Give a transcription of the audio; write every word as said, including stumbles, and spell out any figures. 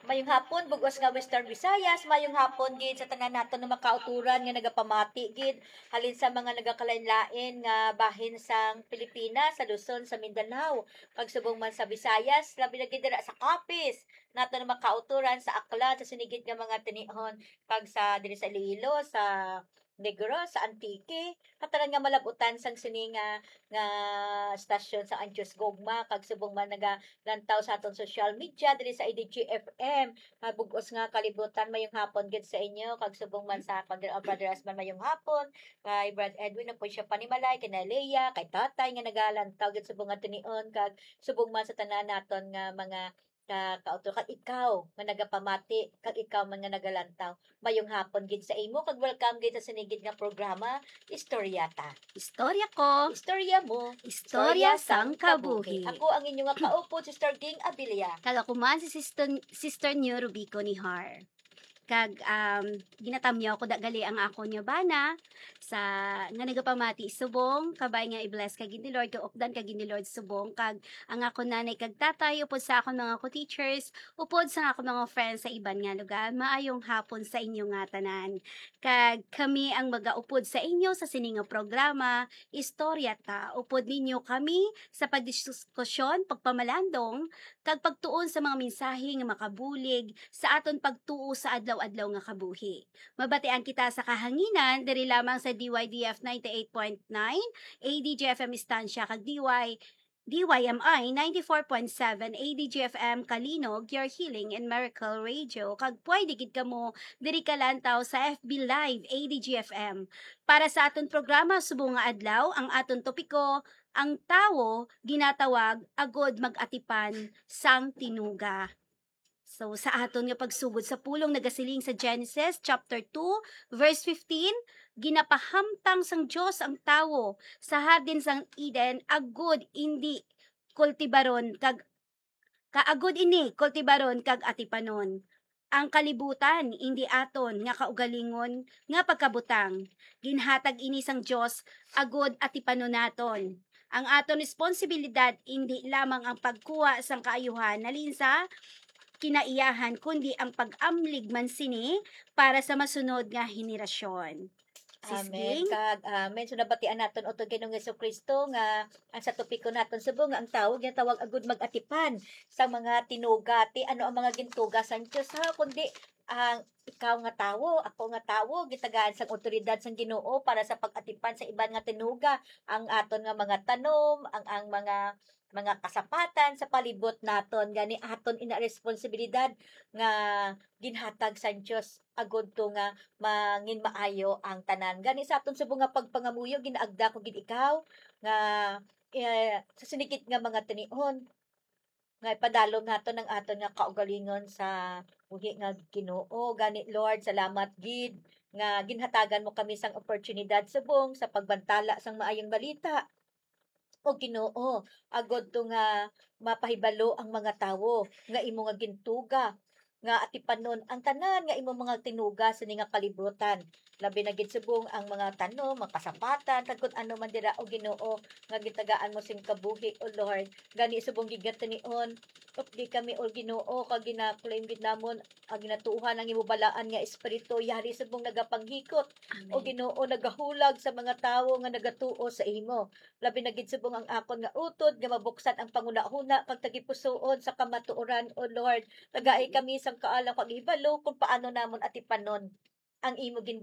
Mayong hapon, bug-os nga Western Visayas. Mayong hapon gid sa tanan naton nga mga kauturan nga nagapamati gid halin sa mga nagakalain-lain nga bahin sang Pilipinas, sa Luzon, sa Mindanao, kag subong man sa Visayas, labi na gid dira sa Capiz. Naton nga mga kauturan sa Aklan, sa sini gid nga mga tinihon, kag sa diri sa Iloilo, sa Negros, sa Antique, katanan nga malabutan sang sini nga, nga stasyon sa Antios Gogma, kag subong man nagalantaw sa aton social media diri sa A D G F M. Mabug-os nga kalibutan, mayong hapon gid sa inyo, kag subong man sa akon diri, ang Brother Asman, mayong hapon, kay Brad Edwin, na po siya panimalay, kay Nalea, kay Tatay nga nagalantaw gid subong nga tinion, kag subong man sa tanan naton nga mga ka, kauto, kag ikaw nga nagapamati, kag ikaw man nga nagalantaw, mayong hapon gid sa imo, kag welcome gid sa sini gid nga programa, Istorya Ta. Istorya ko. Istorya mo. Istorya sang kabuhi. Ako ang inyo nga kaupod, Sister Ging Abilia. Kag ako man si Sister, Sister New Rubico ni Har. Kag, um, ginatamyaw ko da gali ang akon nga bana sa, nga nagapamati subong, kabay nga i-bless ka gid ni Lord, kaupdan ka gid ni Lord subong, kag ang akon nanay kag tatay, upod sa akon mga co-teachers, upod sa akon mga friends sa iban nga lugar, maayong hapon sa inyo nga tanan. Kag kami ang magaupod sa inyo sa sini nga programa, Istorya Ta. Upod ninyo kami sa pagdiskusyon, pagpamalandong, kag pagtuon sa mga mensahe nga makabulig sa aton pagtuo sa adlaw-adlaw nga kabuhi. Mabatian kita sa kahanginan diri lamang sa D Y D F ninety-eight point nine, A D G F M Estancia, kag D Y, D Y M I ninety-four point seven A D G F M Kalinog, your healing and miracle radio. Kag pwede gid kamo diri kalantaw sa F B Live A D G F M. Para sa aton programa subong nga adlaw, ang aton topiko, ang tawo ginatawag agod mag-atipan sang tinuga. So, sa aton nga pagsugod sa pulong, nagasiling sa Genesis chapter two, verse fifteen, "Ginapahamtang sang Dios ang tawo sa hardin sang Eden agud indi kultibaron kag, ka agud ini kultibaron kag atipanon. Ang kalibutan indi aton nga kaugalingon nga pagkabutang. Ginhatag ini sang Dios agud atipanon naton. Ang aton responsibilidad indi lamang ang pagkuha sang kaayuhan halin sa kinaiyahan, kundi ang pag-amlig man sini para sa masunod nga henerasyon." Sis Amen. Ging? Kag, amen. So, nabatian naton utod kay Ginoong Jesu-Cristo nga ang sa topiko naton subong nga ang tawo ginatawag agud mag-atipan sa mga tinuga. Ti ano ang mga gintuga sang Dios, ha? Kundi ang ikaw nga tawo, ako nga tawo, gitagaan sang awtoridad sang Ginoo para sa pag-atipan sa iban nga tinuga, ang aton nga mga tanom, ang, ang mga, mga kasapatan sa palibot naton. Gani aton ina responsibilidad nga ginhatag sang Dios agud to nga mangin maayo ang tanan. Gani sa aton subong nga pagpangamuyo, ginaagda ko gid ikaw nga, eh, sa sini gid nga mga tinion nga ipadalom naton ang aton nga kaugalingon sa buhi nga Ginoo. Gani, Lord, salamat gid nga ginhatagan mo kami sang oportunidad subong sa pagbantala sang maayong balita. O Ginoo, agud to nga mapahibalo ang mga tawo nga imo nga gintuga, nga atipanon ang tanan nga imo mga tinuga sini nga kalibutan. Labi na gid subong ang mga tanom, mga kasapatan, kag kun ano man dira, o Ginoo, nga gitagaan mo sing kabuhi, O Lord. Gani subong gid nga tinion, updi kami, O Ginoo, kag gina-claim gid namon ang ginatuohan ang imo balaan nga Espiritu, yari subong nagapanghikot. O Amen. Ginoo, nagahulag sa mga tawo nga nagatuo sa imo. Labi na gid subong ang akon nga utod nga mabuksan ang panghunahuna kag tagipusoon sa kamatuoran, O Lord. Tagai kami sang kaalam kag hibalo kung paano namon atipanon ang imo ginbi-